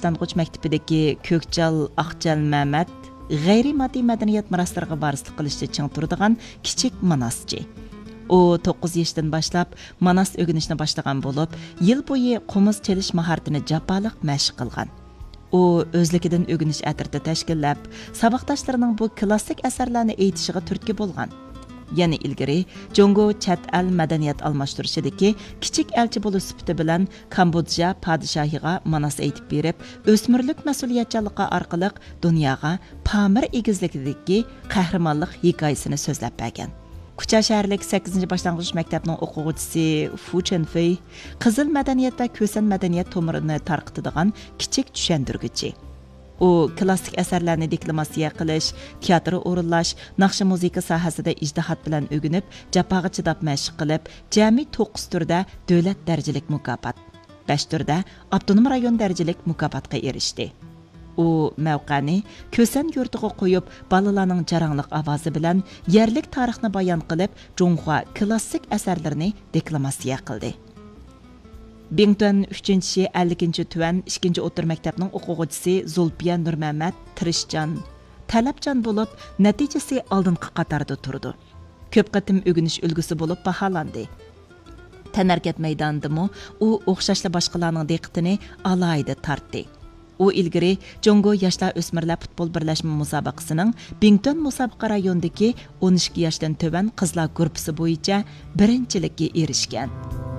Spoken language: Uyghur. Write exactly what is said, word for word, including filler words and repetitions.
باشلانغۇچ مەكتىپىدىكى كۆكچال ئاقجەل مەمەت غەيرىي ماددىي مەدەنىيەت مىراسلىرىغا ۋارىسلىق قىلىشتا چىڭ تۇرىدىغان كىچىك ماناسچى. ئۇ توققۇز يېشىدىن باشلاپ ماناس ئۆگىنىشنى باشلىغان بولۇپ، يىل بويى قومۇز چېلىش ماھارىتىنى جاپالىق مەشىق قىلغان. ئۇ ئۆزلۈكىدىن ئۆگىنىش ئەترىتى تەشكىللەپ، ساۋاقداشلىرىنىڭ بۇ كىلاسسىك ئەسەرلەرنى ئېيتىشىغا تۈرتكە بولغان. يەنە ئىلگىرى جۇڭگو چەت ئەل مەدەنىيەت ئالماشتۇرۇشىدىكى كىچىك ئەلچى بولۇش سۈپىتى بىلەن كامبودژا پادىشاھىغا ماناس ئېيتىپ بېرىپ، ئۆسمۈرلۈك مەسئۇلىيەتچانلىقى ئارقىلىق دۇنياغا پامىر ئېگىزلىكىدىكى قەھرىمانلىق ھېكايىسىنى سۆزلەپ بەرگەن. كۇچا شەھەرلىك سەككىزىنچى باشلانغۇچ مەكتەپنىڭ ئوقۇغۇچىسى فۇ چېنفېي قىزىل مەدەنىيەت ۋە كۈسەن مەدەنىيەت تومۇرىنى تارقىتىدىغان كىچىك چۈشەندۈرگۈچى. ئۇ كىلاسسىك ئەسەرلەرنى دېكلاماتسىيە قىلىش، تىياتىر ئورۇنلاش، ناخشا مۇزىكا ساھەسىدە ئىجتىھات بىلەن ئۆگىنىپ، جاپاغا چىداپ مەشىق قىلىپ، جەمئىي توققۇز تۈردە دۆلەت دەرىجىلىك مۇكاپات، بەش تۈردە ئاپتونوم رايون دەرىجىلىك مۇكاپاتقا ئېرىشتى. ئۇ مەۋقەنى كۈسەن يۇرتىغا قويۇپ، بالىلارنىڭ جاراڭلىق ئاۋازى بىلەن يەرلىك تارىخنى بايان قىلىپ، جۇڭخۇا كىلاسسىك ئەسەرلىرىنى دېكلاماتسىيە قىلدى. بىڭتۈەن ئۈچىنچى شى ئەللىكىنچى تۈەن ئىككىنچى ئوتتۇرا مەكتەپنىڭ ئوقۇغۇچىسى زۇلپىيە نۇرمەمەت تىرىشچان، تەلەپچان بولۇپ، نەتىجىسى ئالدىنقى قاتاردا تۇرىدۇ. كۆپ قېتىم ئۆگىنىش ئۈلگىسى بولۇپ باھالاندى. تەنھەرىكەت مەيدانىدىمۇ ئۇ ئوخشاشلا باشقىلارنىڭ دىققىتىنى ئالاھىدە تارتتى. ئۇ ئىلگىرى جۇڭگو ياشلار ئۆسمۈرلەر پۇتبول بىرلەشمە مۇسابىقىسىنىڭ بىڭتۈەن مۇسابىقە رايونىدىكى ئون ئىككى ياشتىن تۆۋەن قىزلار گۇرۇپپىسى بويىچە بىرىنچىلىككە ئېرىشكەن.